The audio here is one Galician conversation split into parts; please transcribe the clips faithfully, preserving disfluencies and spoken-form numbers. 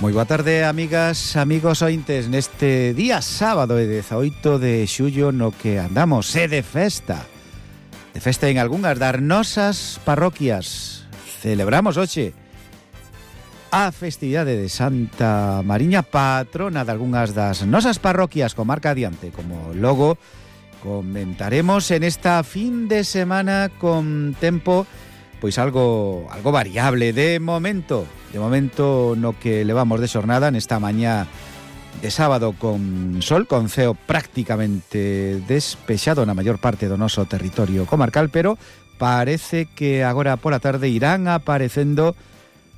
Moi boa tarde, amigas, amigos ointes. Neste día sábado e dezaoito de xullo no que andamos é de festa. De festa en algunhas das nosas parroquias. Celebramos hoxe a festividade de Santa Mariña, patrona de algunhas das nosas parroquias, comarca adiante, como logo comentaremos en esta fin de semana con tempo pois algo algo variable de momento. De momento no que levamos de xornada nesta mañá de sábado con sol, con ceo prácticamente despexado na maior parte do noso territorio comarcal, pero parece que agora pola tarde irán aparecendo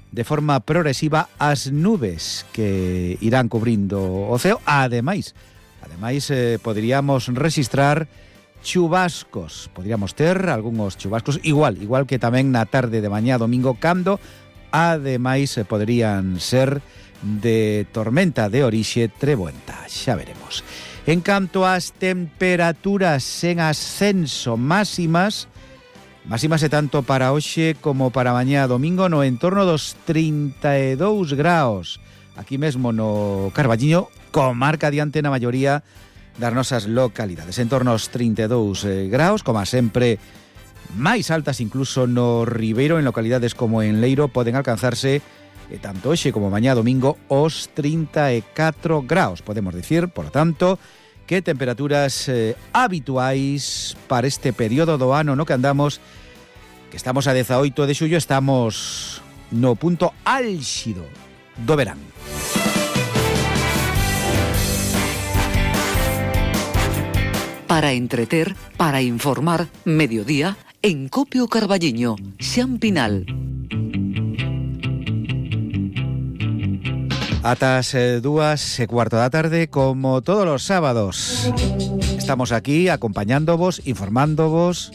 de forma progresiva as nubes que irán cubrindo o ceo. Ademais, ademais eh, poderíamos registrar chubascos, podríamos ter algúns chubascos, igual, igual que tamén na tarde de mañá domingo, cando ademais poderían ser de tormenta de orixe treboenta, xa veremos. En canto ás temperaturas en ascenso máximas, máximas e tanto para hoxe como para mañá domingo no entorno dos trinta e dous graus, aquí mesmo no Carballiño, comarca adiante na maioría das nosas localidades, en torno aos trinta e dous graus, como sempre máis altas incluso no Ribeiro, en localidades como en Leiro poden alcanzarse e tanto hoxe como mañá domingo os trinta e catro graus, podemos dicir, por tanto, que temperaturas eh, habituais para este período do ano no que andamos, que estamos a dezaoito de xullo, estamos no punto álxido do verán. Para entreter, para informar, mediodía, en Copio Carballiño, Xan Pinal. Atas eh, dúas e cuarto da tarde, como todos los sábados. Estamos aquí acompañándovos, informándovos.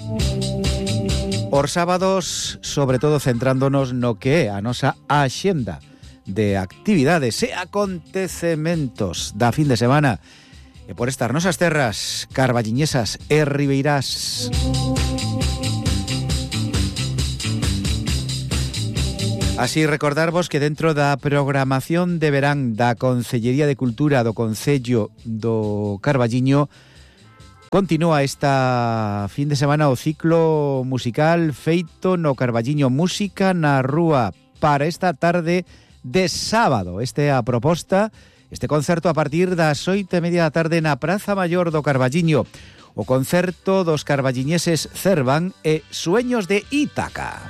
Os sábados, sobre todo centrándonos no que é a nosa axenda de actividades e acontecementos da fin de semana. E por estas nosas terras carballiñesas e ribeirás. Así recordarvos que dentro da programación de verán da Concellería de Cultura do Concello do Carballiño continúa esta fin de semana o ciclo musical feito no Carballiño, Música na Rúa, para esta tarde de sábado. Este é a proposta. Este concerto a partir das oito e media da tarde na Praza Maior do Carballiño. O concerto dos carballiñeses Cervan e Sueños de Ítaca.